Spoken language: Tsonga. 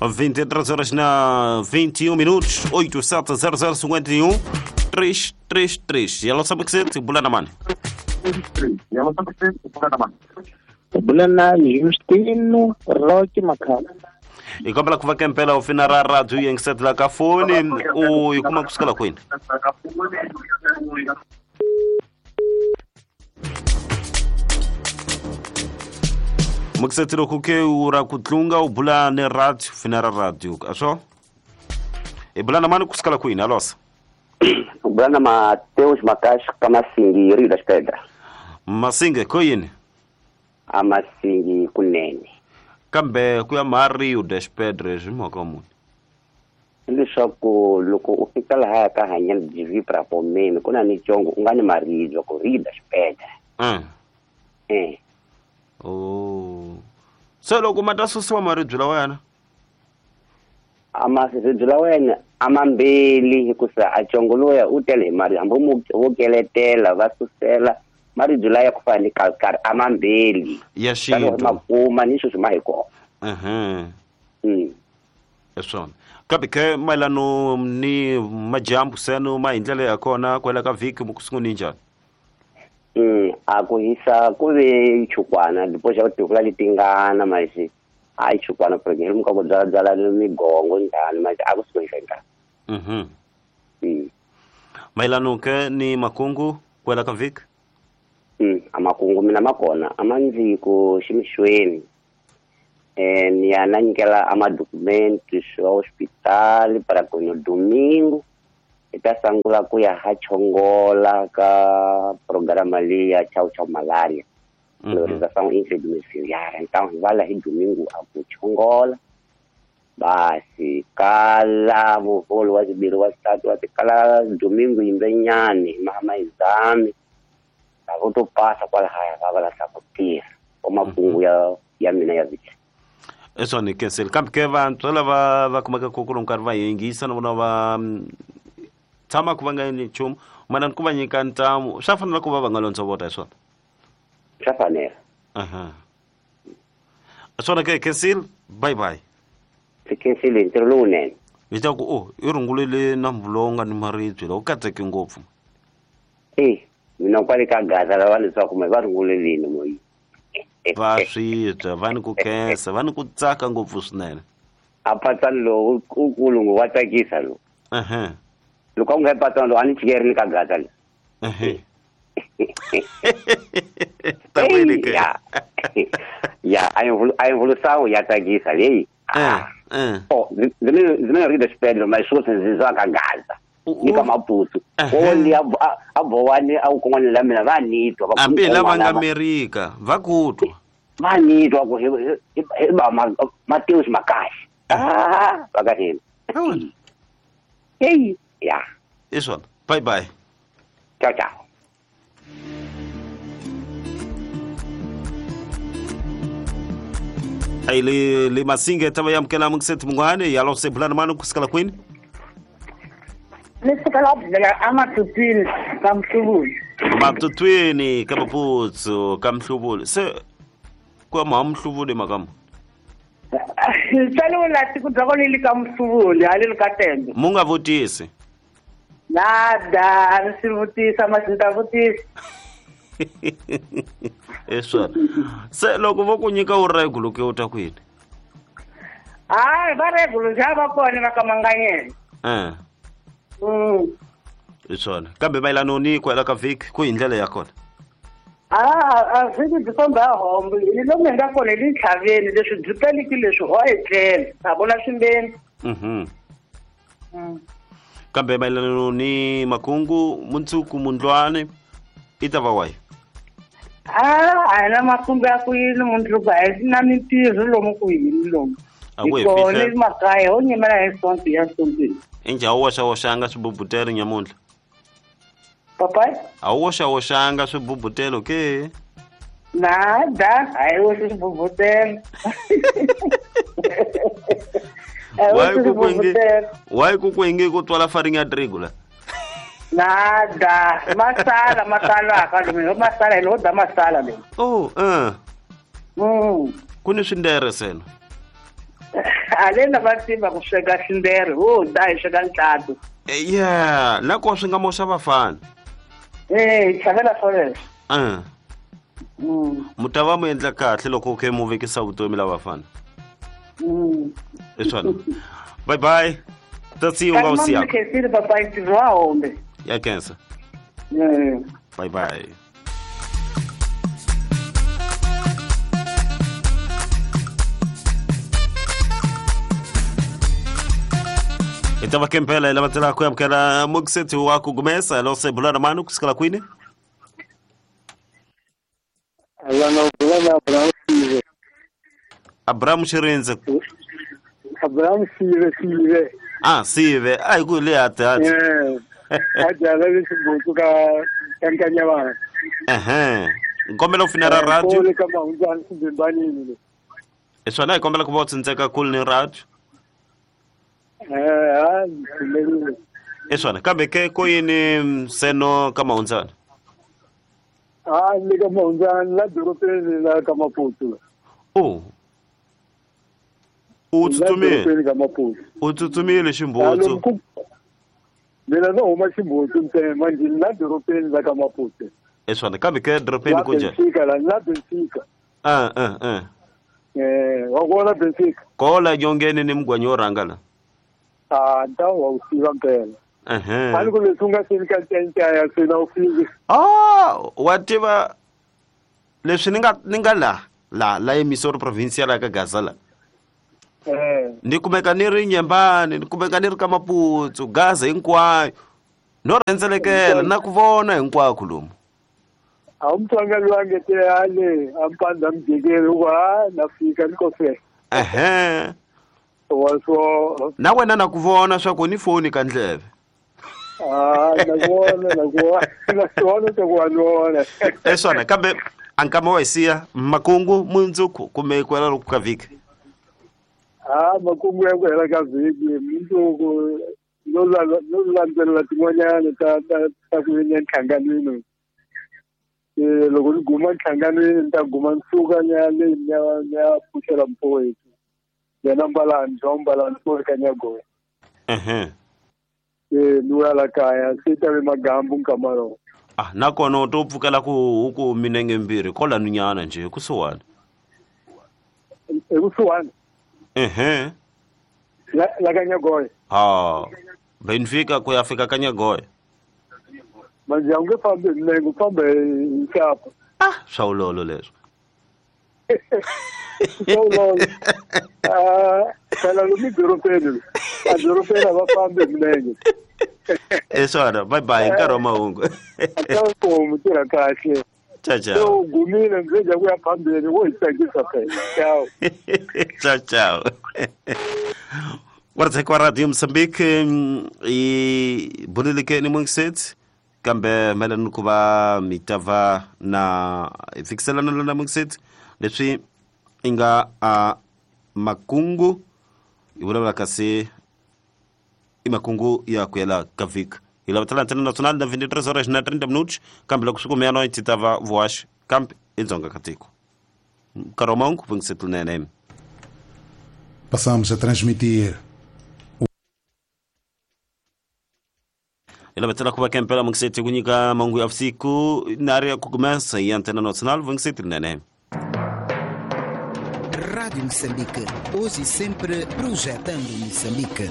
23 horas na 21 minutos, 870051 333. E ela sabe que você bulana mani. Bulana Justino Roque Makhala. E como ela que vai campela ao final da rádio e em que lá cafone o e como é que se ela coin? Muksetiro kuke ura kutlunga u bulane radio finara radio aso e bulana mani kusikala kwini alosa bulana Mateus Makash kamasingi Rio das Pedras Masinge koyini amasingi kunene kambe kuya ma Rio das Pedras mhaka muni leswaku loko u fika laha ka hanya dv pra pomeni ku na ni congo u nga ni maribye ku Rio das Pedras Oh. Se loko ma ta susiwa maribye lawa yana? Amaribye lawa yana a mambeli hikusa a congo loya u tele hi mari hambi wo keletela va susela maribye laya ku fana ni kalkari a mambeli ya xintu ma kuma ni sweswi ma hi kona. Hi swona kambe ke mayelano ni majambu seno ma hi ndlela ya kona kwela ka vhiki mu ku sunguni njhani? A ku hisa ku ve chukwana depois ya tikula letingana mas a chukwana porque ele nunca byala byala migongo njhani mas a ku suka nka. Mayelano ke ni makungu kwela ka vhiki? A makungu mina makona a ma ndzi ku ximixweni ni ya na nyikela a madocumentos swa hospital para ku no domingo ita sangula ku ya ha chongola ka programa leya chau chau malaria. Realização intradomiciliar. Então vai lá domingo a ku chongola basi kala muvolo wa zibiri wa zitatu wa kala domingo imbenyane mama exame avo passa kwala haya va la sa ku tirha o makungu ya mina ya vhiki. Eso ni cancel kambe ke vantshwa lava va kumeka ku ku nkarhi va yingisa na vona va tshama ku va nga endli nchumu mana ni ku va nyika ntamu swa fanela ku va va nga londzovota hi swona swa fanela. Swona ke cancel bye bye cancel ntirho lowunene hi ta ku o i rungulele nambu lowu nga ni maribye lowu katseke ngopfu mina kwale ka Gaza lava leswaku me va rungulelini moyi va swi twa va ni ku khensa va ni ku tsaka ngopfu swinene a patsani lowu u kulungu wa tsakisa lowu loko u nga patsani lowu a ni chikeri ni ka Gaza le ya a evolução ya tsakisa leyi ndzi mina Rio das Pedras mas sweswi ndzi zwa ka Gaza ni ka Maputo o a bowani a kun'wana la mina va ni twa va hambi lava nga Amerika va ku twa va ni twa ku hi ba Mateus Makashi va ka hina hey ya hi swona bye bye ciao ciao. Ai le masinge tava yamukela mungiseti mungwane yalo sebulana mani kusikala kwini Nisikala amatutwini kamhlubuli matutwini kamaputsu kamhlubuli se kwa mamhlubuli makamu Salula tikudzakonili kamhlubuli halili katembe munga vutisi nada nisivutisa masintavutisa eswona se loko vo ku nyika u regulo ke u ta kwini hayi va regulo nje va kona va ka Manganyela iswona kambe mayelano ni kwela ka vhiki ku hi ndlela ya kona a vhiki byi famba hombo hi lomu hi nga kona hi le ntlhaveni leswi byi peliki leswi ho etlela ha vona swimbeni kambe mayelano ni makungu mundzuku mundlwane i ta va wayi a hi na makungu ya ku yini mundzuku a hi na mintirho lomu ku yini lomu hi kona makaya ho nyimela hi sonto ya sontweni injhe a wu woxawoxanga swibubutelo nyamuntlha papai a wu woxawoxanga swibubutelo ke nada a hi woxi swibubutelo wayi ku ku inge ku twala farinha ya trigo la nada masala masalaka lomu masala hi lo da masala leyi ku ni swindere sena Alena va tiva ku sweka xindere ho da hi sweka ntlatu. Yeah, na ko swi nga moxa vafana. Eh, chavela swoleswo. Mu ta va mu endla kahle loko khe mu vekisa vutomi la vafana. I swona. Bye bye. Ta see you nga u siya. Khensile papa ntirho wa hombe. Ya khensa. Bye bye. Itava kempela ila matela ku amukela muxeti wa ku gumesa lo se bulana manu kusikala kwini. Alana bulana Abraham Sive. Abraham Shirinze. Abraham Sive. Ah, Sive. Ai ku le ata. Eh. Aja la le xibutsu ka kankanya vana. Ehe. Nkombela u finera radio. Ko le ka mahundzani xibimbanini. Eswana hi kombela ku va u tsindzeka kule ni radio. Eswana kambe ke ko yini seno ka mahundzani? Ah, le ka mahundzani la dorobeni la ka Maputo. Oh. U tsutsumile ka Maputo. U tsutsumile ximbutsu. Mina no huma ximbutsu ntsena manje la dorobeni la ka Maputo. Eswana kambe ke dorobeni ku njhani? Benfica la Benfica. Eh, wa kona Benfica. Kola nyongeni ni mugwanyi wo rhanga la. Ah, nta wa u tiva mpela. Ehe. A ni ku leswi u nga seni ka ncayncaya se na u fiki. Ah, wa tiva leswi ni nga la emisoro provincial ya ka Gaza la. Ni kumeka ni ri Nyembani, ni kumeka ni ri ka Maputo, Gaza hinkwayo. No rhendzelekela na ku vona hinkwako lomu. A wu mutsonga loyi a nge te ale a mpandza mujekeni u ku ha na fika ni ko fe. Ehe. So na wena na ku vona swa ku ni foni ka ndleve. Ah, na ku vona swa ku wa ni vona. Eswana kambe a nkama wa hi siya makungu mundzuku kumbe ku hela loko ka vhiki. Ah, makungu ya ku hela ka vhiki mundzuku no landzelela tin'wanyana ta ku yenya ntlhanganweni. Loko ni guma ntlhanganweni ni ta guma ni suka ni ya le ni ya pfuxela mfowethu. Yena Mbalani, John Mbalani, ko ka Nyagoya. Ehe. Eh, ni ya la kaya, se ta ve magambu nkamaro. Ah, nakona u to pfukela ku huku minenge mbirhi kola nunyana nje kusuhani. Ekusuhani. Ehe. La ka Nyagoya. Ha. Benfica ku ya fika ka Nyagoya. Manje a wu nge fambi hi milenge, u famba hi nxapa. Ah, swa ulolo leswo. Swa phela lomu dorobeni, a dorobeni a va fambi hi milenge. Eswana, bye bye, nkarhi wa mahungu. Mu tirha kahle. Ciao ciao. Se u gumile ndzi dya ku ya phambeni wo hi tsakisa phela. Ciao. Ciao ciao. Wardzeka wa Radio Mozambique i buleleke ni mungiseti kambe mayelana ku va mi ta va na hi fikiselana na mungiseti leswi i nga a makungu hi vulavula kasi i makungu ya ku yela ka vhiki. Hi lava tala Antena Nacional na 23 horas na 30 minutos kambe loko swi kume ya noite ti ta va voax kambe i dzonga ka tiko. Nkarhi wa mahungu mungiseti lunene. Passamos a transmitir Hi lavetela ku va kempela mungiseti ku nyika mahungu ya vusiku na ri ya ku kumesa hi Antena Nacional mungiseti lunene. Rádio Moçambique, hoje e sempre projetando Moçambique.